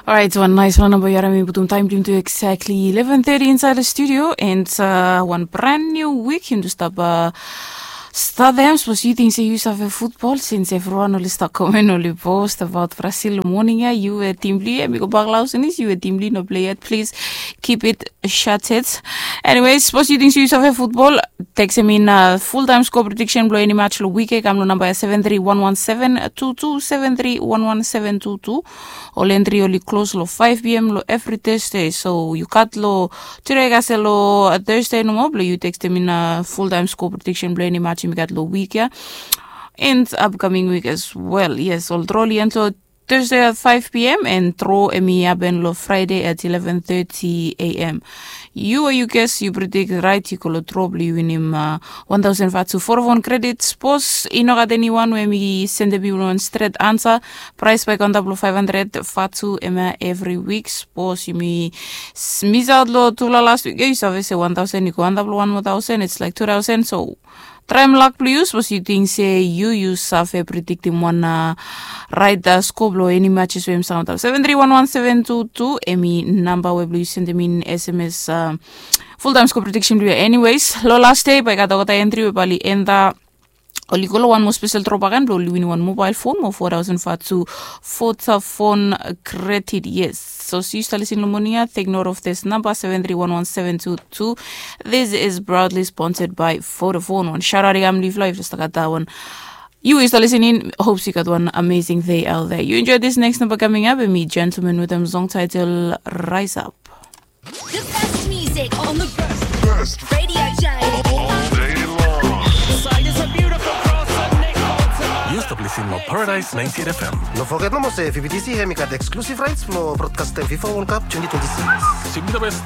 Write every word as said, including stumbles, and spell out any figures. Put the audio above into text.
Orait, wan naiswan namba yu harim i putum taem blong yumi tu exactly eleven thirty inside the studio, and uh, wan brand new week yumi tu stap uh, start them. Sapos yu ting se yu save futbol, since everyone oli stap komen oli post about Brazil long morning ya, yu we tim blong yu em i go bak long haus anis, yu we tim blong yu no play yet, please keep it shut it. Anyways, sapos yu ting se yu save futbol, tekstem in uh, full time score prediction blong eni match long week ya, kam long namba ya seven three one one seven two two, seven three one one seven two two. Ol entri oli klos long five p.m. long evri Thursday. So yu gat long tude kasem long Thursday nomo blong yu tekstem in full time score prediction blong eni match yumi gat long wik ya and upcoming week as well. Yes, ol dro oli end long Thursday at five p.m. and dro em i hapen long Friday at eleven thirty a.m. Yu o yu ges yu predict rait, yu go long dro blong yu winim uh, one thousand vatu. Vodafone Credit, sapos i no gat eniwan we mi sendem yu wan stret ansa, praes bae i go antap long five hundred vatu hemia evri wik. Sapos yumi misaot long tufala last wik ya, yu save se one thousand i go antap long one more thousand, it's like two thousand. So traem lak blong yu, sapos yu ting se yu yu save prediktim wan uh, rait uh, score blong eni matches we yumi stap antap. Seven three one one seven two two em i namba we blong yu sendem in sms uh, full time score prediction blong yu. Anyways, long last day bae i gat olgeta entri we bae oli end up oli go long wan moa spesel dro bakegen blong oli winim wan mobile phone mo four thousand vatu Vodafone Credit. Yes, so sapos yu stap lisin long moning ya, take note of this number, seven three one one seven two two. This is proudly sponsored by Vodafone. Wan shout out i kam long yufala, yufala stap gat that one. Yu we yu stap lisin in, hopes yu gat wan amazing day out there. Yu enjoy this next number coming up, and mi Gentleman wetem song title Rise Up. The best music on the best radio show. All day long. Yu stap lisin long Paradise ninety-eight F M. No foget nomo se V B T C hemi gat exclusive rights blong broadcastem FIFA World Cup twenty twenty-six. Sing the best.